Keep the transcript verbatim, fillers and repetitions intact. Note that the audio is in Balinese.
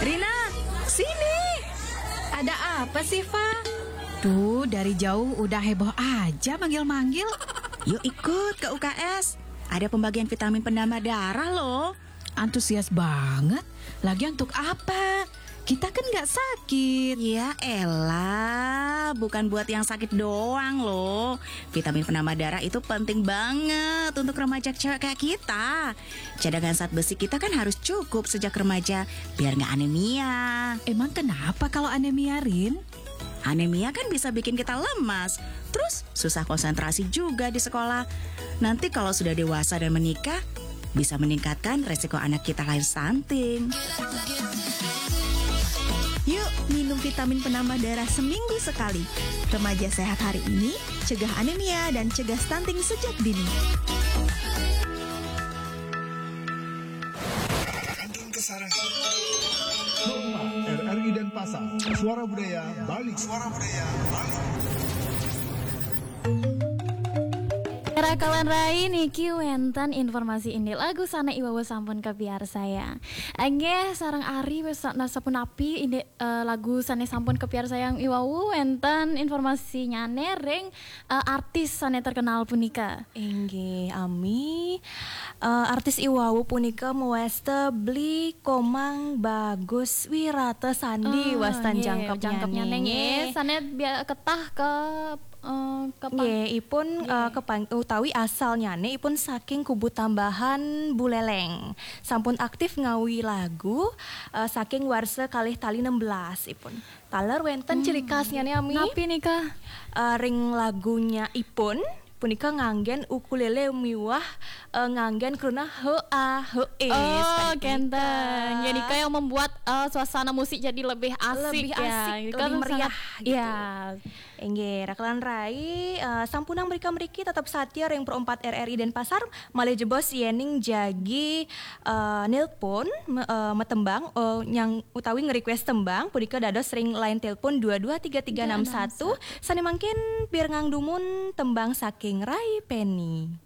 Rina, sini. Ada apa sih, Fa? Tuh, dari jauh udah heboh aja manggil-manggil. Yuk ikut ke U K S. Ada pembagian vitamin penambah darah loh. Antusias banget. Lagian untuk apa? Kita kan nggak sakit. Ya elah, bukan buat yang sakit doang loh. Vitamin penambah darah itu penting banget untuk remaja cewek kayak kita. Cadangan zat besi kita kan harus cukup sejak remaja, biar nggak anemia. Emang kenapa kalau anemia, Rin? Anemia kan bisa bikin kita lemas, terus susah konsentrasi juga di sekolah. Nanti kalau sudah dewasa dan menikah, bisa meningkatkan resiko anak kita lahir stunting. Yuk, minum vitamin penambah darah seminggu sekali. Remaja sehat hari ini, cegah anemia dan cegah stunting sejak dini. R R I Denpasar, Suara Budaya Bali. Suara Budaya Bali. Rakalan rai niki wenten informasi indik lagu sane iwawu sampun kapiarsayang. Enggih, sareng Ari wis sa- sapunapi indik eh, lagu sane sampun kapiarsayang iwawu, wenten informasinyane ring eh, artis sane terkenal punika. Inggih, Ami. Eh, artis iwawu punika mawasta Bli Komang Bagus Wirata Sandi. Ah, Wastan nggih, jangkepnyane, jangkepnyane nggih. Sane bia- ketah ke eh, kepang- Nggih, ipun eh, kepang- utawi asalnyane ipun saking Kubu Tambahan Buleleng. Sampun aktif ngawi lagu eh, saking warsa kalih tali enam belas ipun. Taler wenten ciri khasnyane, Ami. Napi nika? Eh, ring lagunya ipun punika nganggen ukulele miwah eh, nganggen kruna H A H E. Oh, kenten. Jadi kayak membuat eh, suasana musik jadi lebih asik Lebih ya. asik, Jadi lebih meriah sangat- gitu. Ya. Inggih, rakalan rai eh, sampunang mrika-mriki tetep satya ring Pro empat R R I Denpasar, malih jebos yening jagi eh, nelpon me- eh, metembang eh, nyang utawi nge-request tembang punika dados ring line telepon dua dua tiga tiga enam satu. Sane mangkin pirengang dumun tembang saking Rai Penny.